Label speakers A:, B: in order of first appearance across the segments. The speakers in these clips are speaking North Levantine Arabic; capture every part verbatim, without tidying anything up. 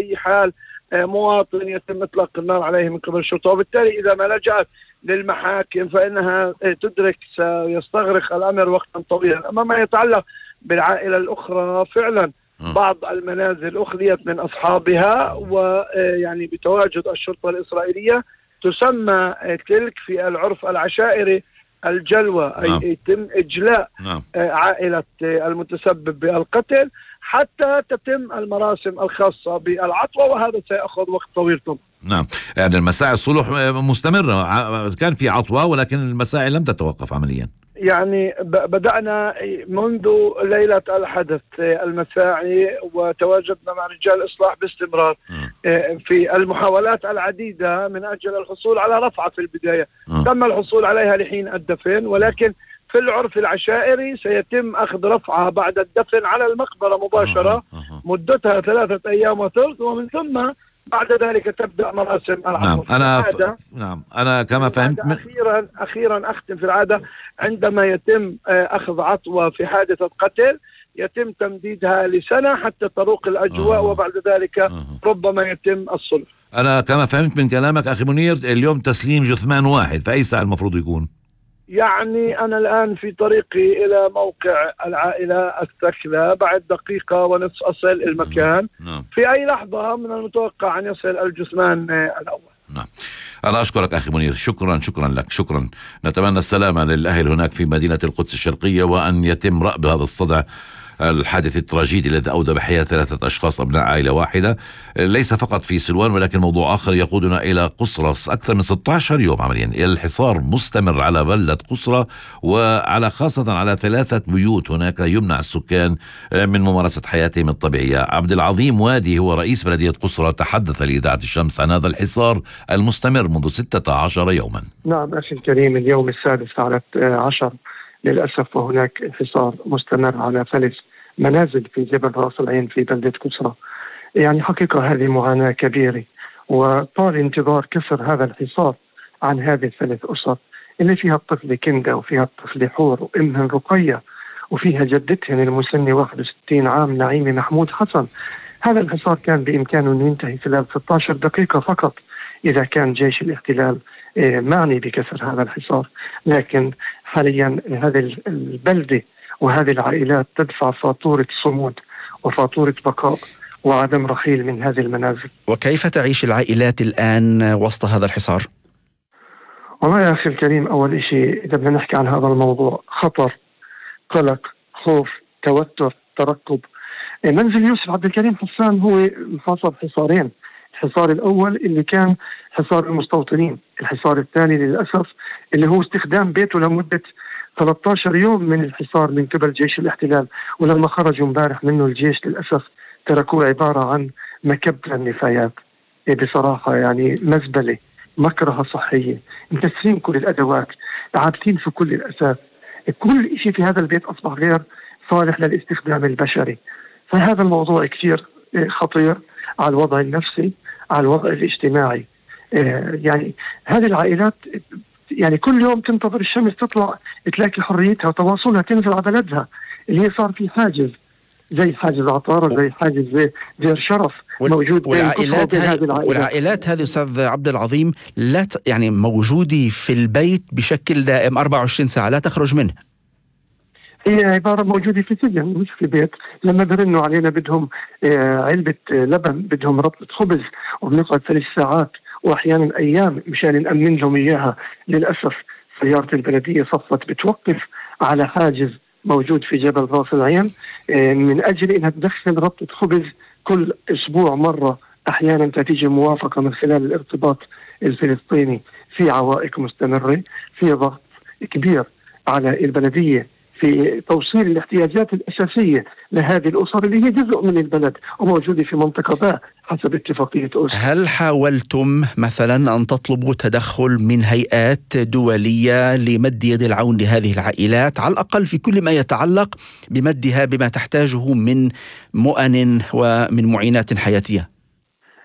A: بأي حال مواطن يتم إطلاق النار عليه من قبل الشرطة. وبالتالي إذا ما لجأت للمحاكم فإنها تدرك سيستغرق الأمر وقتا طويلا. أما ما يتعلق بالعائلة الأخرى فعلا بعض المنازل أخذيت من أصحابها، ويعني بتواجد الشرطة الإسرائيلية تسمى تلك في العرف العشائري الجلوة، أي نعم. يتم إجلاء نعم. عائلة المتسبب بالقتل حتى تتم المراسم الخاصة بالعطوة، وهذا سيأخذ وقت طويل طبعا.
B: نعم، يعني المساعي الصلح مستمرة، كان في عطوة ولكن المساعي لم تتوقف عمليا.
A: يعني بدأنا منذ ليلة الحدث المساعي، وتواجدنا مع رجال الإصلاح باستمرار م. في المحاولات العديدة من أجل الحصول على رفعة. في البداية م. تم الحصول عليها لحين الدفن، ولكن في العرف العشائري سيتم أخذ رفعة بعد الدفن على المقبرة مباشرة مدتها ثلاثة أيام وثلث، ومن ثم بعد ذلك تبدأ مراسم العطوة.
B: نعم أنا ف... نعم أنا كما فهمت م...
A: أخيرا أخيرا أختم في العادة، عندما يتم أخذ عطوة في حادثة قتل يتم تمديدها لسنة حتى تروق الأجواء آه. وبعد ذلك آه. ربما يتم الصلح.
B: أنا كما فهمت من كلامك أخي منير اليوم تسليم جثمان واحد، فأي ساعة المفروض يكون؟
A: يعني أنا الآن في طريقي إلى موقع العائلة الثكلى، بعد دقيقة ونصف أصل المكان. نعم. في أي لحظة من المتوقع أن يصل الجثمان الأول.
B: نعم. أنا أشكرك أخي منير، شكرا شكرا لك، شكرا. نتمنى السلامة للأهل هناك في مدينة القدس الشرقية، وأن يتم رأب هذا الصدع الحادث التراجيدي الذي أودى بحياة ثلاثة أشخاص أبناء عائلة واحدة، ليس فقط في سلوان ولكن موضوع آخر يقودنا إلى قصرة. أكثر من ستة عشر يوم عمليا الحصار مستمر على بلدة قصرة، وعلى خاصة على ثلاثة بيوت هناك يمنع السكان من ممارسة حياتهم الطبيعية. عبد العظيم وادي هو رئيس بلدية قصرة تحدث لإذاعة الشمس عن هذا الحصار المستمر منذ ستة عشر يوما.
C: نعم أخي الكريم، اليوم السادس على عشر للأسف، وهناك انحصار مستمر على ثلاث منازل في جبل راس العين في بلدة قصرة. يعني حقيقة هذه معاناة كبيرة، وطال انتظار كسر هذا الحصار عن هذه الثلاث أسر اللي فيها الطفل كندا، وفيها الطفل حور، وأمهن رقية، وفيها جدتهن المسنة واحد وستين عام نعيمة محمود حسن. هذا الحصار كان بإمكانه أن ينتهي خلال ستة عشر دقيقة فقط إذا كان جيش الاحتلال معني بكسر هذا الحصار، لكن حاليا هذه البلدة وهذه العائلات تدفع فاتورة صمود وفاتورة بقاء وعدم رحيل من هذه المنازل.
D: وكيف تعيش العائلات الآن وسط هذا الحصار؟
C: والله يا أخي الكريم، أول شيء إذا بدنا نحكي عن هذا الموضوع، خطر، قلق، خوف، توتر، ترقب. منزل يوسف عبد الكريم حسان هو محاصر حصارين. الحصار الأول اللي كان حصار المستوطنين، الحصار الثاني للأسف اللي هو استخدام بيته لمدة ثلاثة عشر يوم من الحصار من قبل جيش الاحتلال، ولما خرجوا امبارح منه الجيش للأسف تركوه عبارة عن مكب للنفايات. بصراحة يعني مزبلة، مكرهة صحية، مكسرين كل الأدوات، عابثين في كل الأساس، كل شيء في هذا البيت أصبح غير صالح للاستخدام البشري. فهذا الموضوع كثير خطير على الوضع النفسي، على الوضع الاجتماعي. يعني هذه العائلات يعني كل يوم تنتظر الشمس تطلع تلاقي حريتها وتواصلها تنزل على بلدها اللي هي صار في حاجز، زي حاجز عطارة، زي حاجز زي دير شرف موجود.
D: والعائلات هذه والعائلات هذه أستاذ عبد العظيم لا ت... يعني موجودة في البيت بشكل دائم أربعة وعشرين ساعة لا تخرج منه.
C: هي عبارة موجودة في سجن مش في بيت. لما برنوا علينا بدهم علبة لبن، بدهم ربطة خبز، وبنقعد ثلاث ساعات وأحيانا أيام مشان نأمن لهم إياها. للأسف سيارة البلدية صفت بتوقف على حاجز موجود في جبل راس العين من أجل أنها تدخل ربطة خبز كل أسبوع مرة. أحيانا تتيجي موافقة من خلال الارتباط الفلسطيني. في عوائق مستمرة، في ضغط كبير على البلدية في توصيل الاحتياجات الأساسية لهذه الأسر اللي هي جزء من البلد وموجودة في منطقة باء حسب اتفاقية أوسلو.
D: هل حاولتم مثلا أن تطلبوا تدخل من هيئات دولية لمد يد العون لهذه العائلات، على الأقل في كل ما يتعلق بمدها بما تحتاجه من مؤن ومن معينات حياتية؟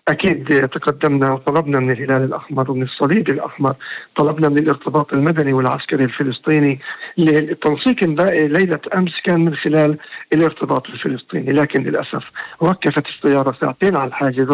C: أكيد تقدمنا وطلبنا من الهلال الأحمر ومن الصليب الأحمر، طلبنا من الارتباط المدني والعسكري الفلسطيني. التنسيق الباقي ليلة أمس كان من خلال الارتباط الفلسطيني، لكن للأسف وقفت السيارة ساعتين على الحاجز.